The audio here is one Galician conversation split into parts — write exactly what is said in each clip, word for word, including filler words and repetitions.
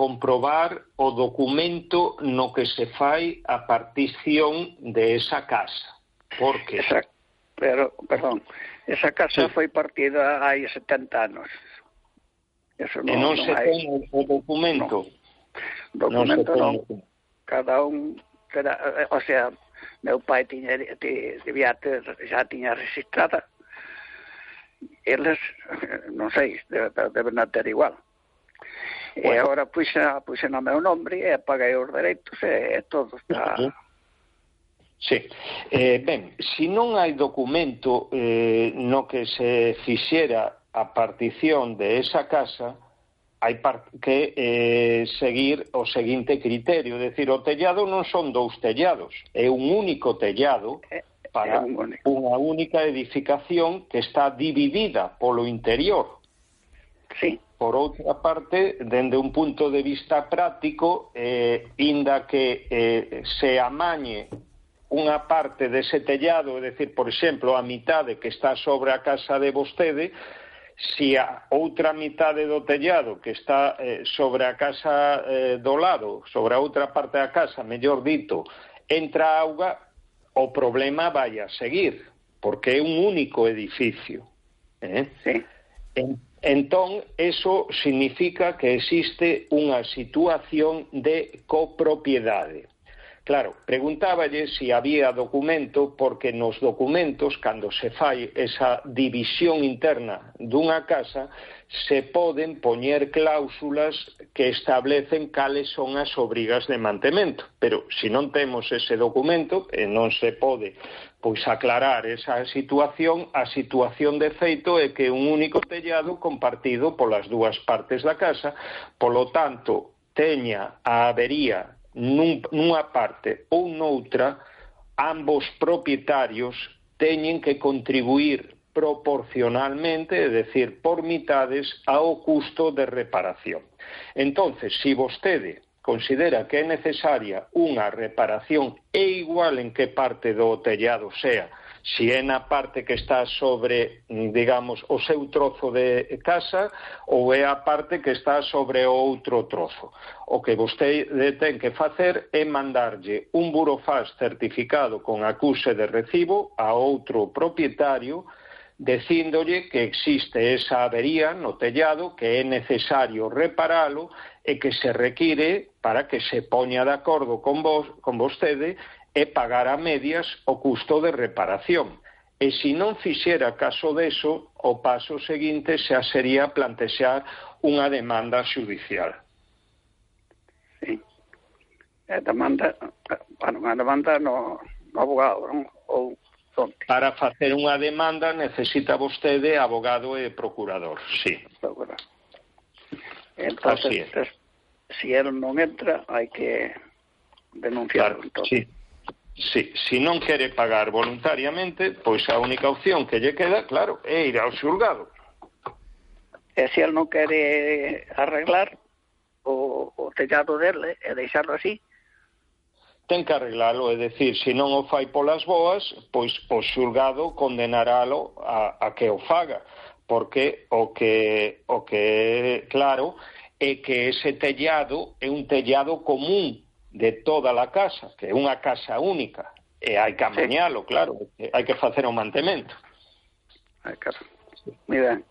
comprobar o documento no que se fai a partición de esa casa. Por que? Esa, pero, perdón, esa casa sí. foi partida hai setenta anos. Eso non, e non, non se hai... ten o documento? No. Documento non. non. Cada un, cada, o sea, meu pai tiña, debía ter, xa tiña registrada. Eles, non sei, deben ter igual. Bueno. E agora puxa, puxa no meu nombre e paguei os dereitos e todo está... Sí. Eh, ben, se non hai documento eh, no que se fixera a partición de esa casa, hai que eh, seguir o seguinte criterio, é dicir, o tellado non son dous tellados, é un único tellado para un unha única edificación que está dividida polo interior. Sí. Por outra parte, dende un punto de vista práctico, eh, inda que eh, se amañe unha parte dese tellado, é dicir, por exemplo, a mitade que está sobre a casa de vostede, se a outra mitade do tellado que está eh, sobre a casa eh, do lado, sobre a outra parte da casa, mellor dito, entra auga, o problema vai a seguir, porque é un único edificio. Eh? Sí. En, entón, eso significa que existe unha situación de copropiedade. Claro, preguntáballe se había documento, porque nos documentos, cando se fai esa división interna dunha casa, se poden poñer cláusulas que establecen cales son as obrigas de mantemento. Pero se non temos ese documento, e non se pode pois aclarar esa situación, a situación de feito é que un único tellado compartido polas dúas partes da casa, polo tanto, teña a avería Nun, nunha parte ou noutra, ambos propietarios teñen que contribuir proporcionalmente, é dicir, por mitades, ao custo de reparación. Entonces, se vostede considera que é necesaria unha reparación, é igual en que parte do tellado sea, se é na parte que está sobre, digamos, o seu trozo de casa ou é a parte que está sobre o outro trozo. O que vostede ten que facer é mandarlle un burofax certificado con acuse de recibo a outro propietario dicíndolle que existe esa avería no tellado, que é necesario reparalo e que se require para que se poña de acordo con vos, con vostede e pagar a medias o custo de reparación. E se non fixera caso deso, o paso seguinte xa sería plantexar unha demanda xudicial. Sí. A demanda, bueno, unha demanda no, no abogado, non? Ou onde? Para facer unha demanda necesita vostede abogado e procurador, sí. Procurador. Entonces, es. Se el non entra, hai que denunciarlo. Claro, sí. Sí, se non quere pagar voluntariamente, pois a única opción que lle queda, claro, é ir ao xulgado. E se el non quere arreglar o, o tellado dele e deixarlo así? Ten que arreglalo, é dicir, se non o fai polas boas, pois o xulgado condenaralo a, a que o faga, porque o que, o que é claro é que ese tellado é un tellado común de toda a casa, que é unha casa única, e hai que amañalo, sí. Claro, hai que facer o mantemento. Ai, claro. Moi ben.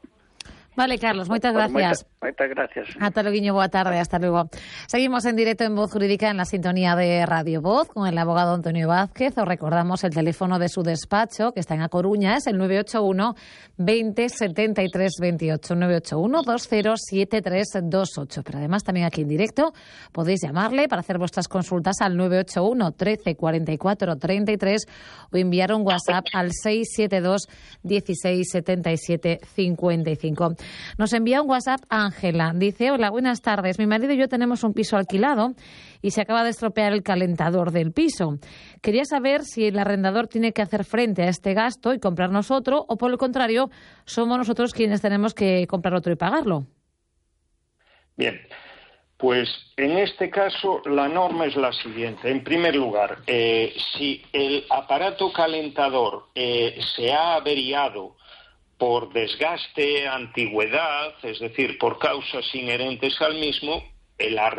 Vale, Carlos, moitas gracias. Moitas gracias. Ata loguiño, boa tarde, hasta luego. Seguimos en directo en Voz Jurídica en la sintonía de Radio Voz con el abogado Antonio Vázquez. Os recordamos el teléfono de su despacho, que está en A Coruña, es el nueve ocho uno, veinte, setenta y tres veintiocho, nueve ocho uno, veinte, setenta y tres veintiocho. Pero además también aquí en directo podéis llamarle para hacer vuestras consultas al nueve ocho uno, trece, cuarenta y cuatro, treinta y tres o enviar un WhatsApp al seis siete dos, dieciséis, setenta y siete, cincuenta y cinco. Nos envía un WhatsApp Ángela. Dice, hola, buenas tardes. Mi marido y yo tenemos un piso alquilado y se acaba de estropear el calentador del piso. Quería saber si el arrendador tiene que hacer frente a este gasto y comprarnos otro o, por el contrario, somos nosotros quienes tenemos que comprar otro y pagarlo. Bien, pues en este caso la norma es la siguiente. En primer lugar, eh, si el aparato calentador eh, se ha averiado por desgaste, antigüedad, es decir, por causas inherentes al mismo, el